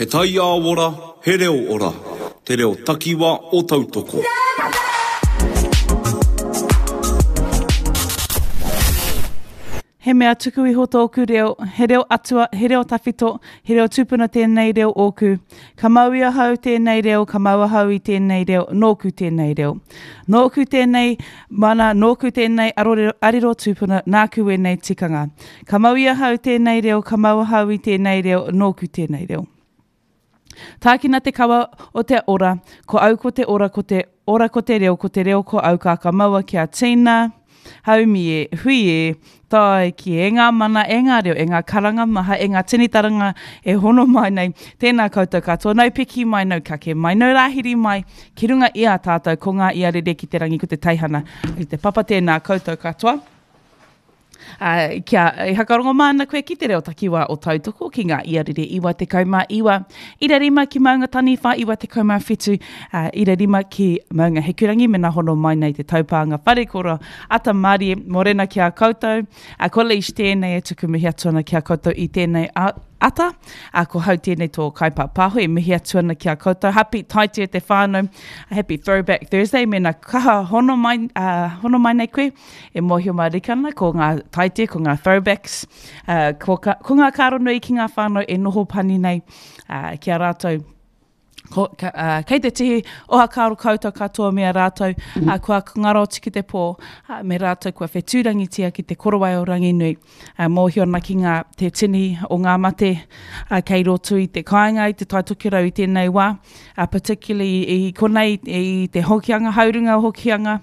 He taiao ora, he reo ora, te reo takiwa o Tautoko. He mea tuku iho tōku reo, he reo atua, he reo tawhito, he reo tupuna tēnei reo ōku. Ka mau i ahau tēnei reo, ka mau ahau i tēnei reo, nōku tēnei reo. Nōku tēnei mana, nōku tēnei arorero, arero tupuna, nāku wēnei tikanga. Ka mau i ahau tēnei reo, ka mau ahau i tēnei reo, nōku tēnei reo. Tākina te kawa o te ora, ko au ko te ora, ko te ora ko te reo, ko te reo ko au ka ka maua kia tina, haumi e, hui e, tae ki e ngā mana, e ngā reo, e ngā karanga maha, e ngā tini taranga e hono mai nei. Tēnā koutou katoa, nau piki mai, nau kake mai, nau rāhiri mai, ki runga i a tātou, ko ngā ia rere ki te rangi, ko te teihana i te papa, tēnā koutou katoa. Ā, kia e hakarongo mai ana koe ki te reo takiwā o Tautoko ki ngā iarere 99, ira rima ki Maunga Taniwha 97, ā, ira rima ki Maunga Hikurangi mena hono mai nei te taupānga wharekoro ata mārie, mōrena ki a koutou. Ā, ko Leish tēnei e tuku mihi atu ana ki a koutou i tēnei ata. Ā, ko hau tēnei tō kaipāpāho e mihi atu ana ki a koutou. Happy taite te whānau, happy throwback Thursday, mena kaha hono mai, ā, hono mai nei koe. E mōhio mārika ana, ko ngā taite, ko ngā throwbacks, uh, ko, ka, ko ngā kāro nui ki ngā whānau e noho pani nei uh, ki a rātou. Ko, ka, uh, kei te tihi oha kāro koutou katoa me a rātou uh, kua ngaro atu ki te pō, uh, me rātou kua whetūrangitia ki te korowai o Ranginui. Uh, mōhio ana ki ngā, te tini o ngā mate uh, kei roto i te kāinga, i te Tai Tokerau i tēnei wā, uh, particularly i konei i te Hokianga, haurunga o Hokianga,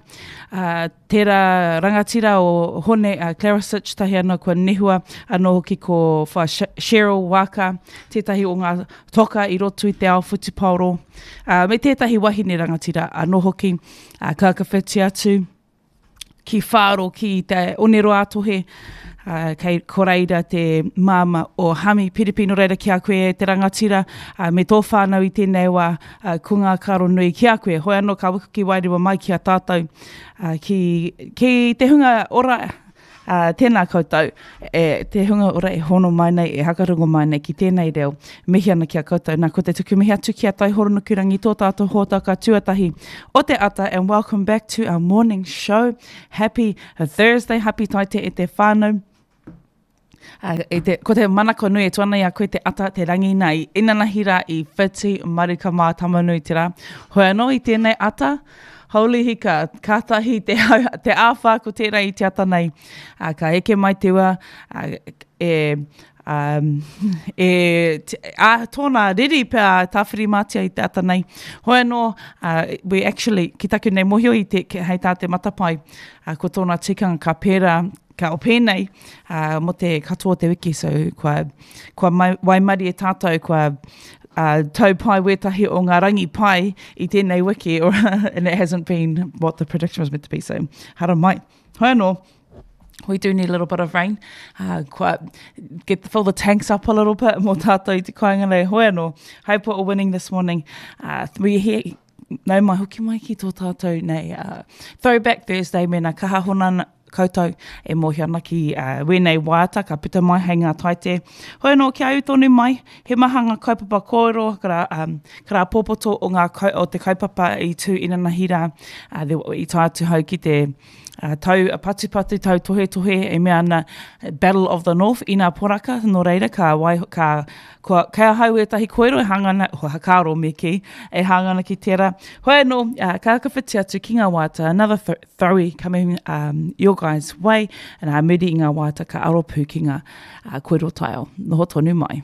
uh, Tērā rangatira o Hone uh, Klaricich tahi anō kua nehua anō hoki ko Wha Cheryl Waka, tētahi o ngā toka i roto i te ao whutupaoro, uh, me tētahi wahine rangatira anō hoki, uh, ka whakawhiti atu ki Whāro ki te Oneroa-a-Tohe, uh, kei ko reira te māma o Hami Piripi, nō reira ki a koe e te rangatira, uh, me tō whānau i tēnei wā, uh, ko ngā karo nui ki a koe. Hoi anō ka wikuki wairua mai ki a tātou, uh, ki, ki te hunga ora, uh, tēnā koutou, e, te hunga ora e hono mai nei, e hakarongo mai nei ki tēnei reo, mihi ana ki a koutou. Nā, ko te tuku mihi atu ki a Taihoronukurangi, tō tātou hōtaka tuatahi o te ata, and welcome back to our morning show. Happy Thursday, happy taite e te whānau. Uh, e te, ko te manako nui e tuana i a koe te ata, te rangi nā i inanahi rā i whiti maruka mā tamanui te rā. Hoi anō i tēnei ata, holy hika, kātahi te, hau, te āwhā ko tērā i te ata nei. Uh, ka eke mai te ua, uh, e, um, e, te, a, tōna riri pea Tāwhirimātea i te ata nei. Hoi anō, uh, we actually, ki taku nei mohio i te, hei tā te matapae, uh, ko tōna tikanga ka pērā, ka o pēnei uh, mō te katoa o te wiki, so kua, kua mai, waimarie tātou, kua uh, tau pai wētahi o ngā rangi pai i tēnei wiki, or, and it hasn't been what the prediction was meant to be, so hara mai. Hoi anō, we do need a little bit of rain. Uh, kua, get the, fill the tanks up a little bit mō tātou i te kāinga nei. Hoi anō, hope we're all winning this morning. Uh, we here, nau mai hoki mai ki tō tātou nei uh, Throwback Thursday mēnā kaha hona koutou e mōhio ana ki uh, wēnei waiata ka puta mai hei ngā taite. Hoi anō, kia ū tonu mai, he maha ngā kaupapa kōrero, kara, um, kara pōpoto o, ngā, o te kaupapa i tū inanahi rā, uh, i tae atu hau ki te uh, tau patupatu, tau tohetohe, e mea ana Battle of the North, ina poraka, nō reira, ka, wai, ka, kua, kei ahau ētahi koero e hanga ana, ho, hakaaro me kī, e hanga ana ki tērā. Hoi anō, uh, ka whakawhiti atu ki ngā waiata, another th throwy coming um, your guys way, and a muri i ngā waiata ka aro pū ki ngā uh, koero taiao. Noho tonu mai.